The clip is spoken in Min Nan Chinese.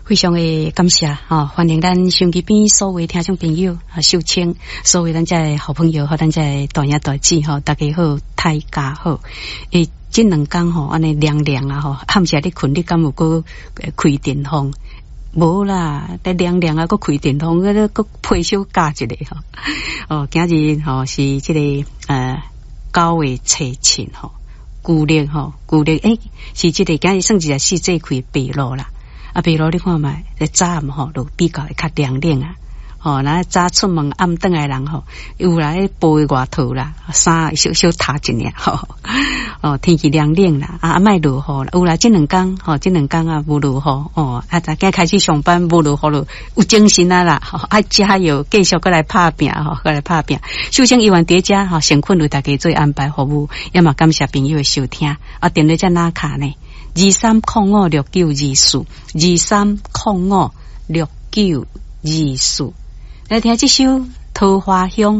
非常的感謝吼，歡迎咱收音機邊所有聽眾朋友啊，秀清，所有咱遮的好朋友和咱遮的大兄大姊吼，大家好，大家好。欸，這兩工吼，按呢涼涼啊吼，暗時咧睏，你敢有閣開電風？無啦，咧涼涼啊，閣開電風，閣閣被小加一下吼。哦，今日吼是這個9月初7吼，舊曆吼，舊曆欸，是這個今日算一個四節氣白露啦。啊，白露你看覓，早暗吼就比較會較涼冷啊。吼，若早出門暗轉來人吼，有來薄的外套啦，衫小小罩一領吼。哦，天氣涼冷啦，啊，莫落雨啦。有啦，這兩工吼，這兩工啊無落雨哦。啊，今開始上班無落雨咯，有精神啊啦，吼，愛加油，繼續閣來拍拚吼，閣來拍拚。首先，猶原佇遮吼，誠懇為大家做安排服務，也嘛感謝朋友的收聽。啊，電話遮哪卡呢？23056924，23056924。來聽這首《桃花香》。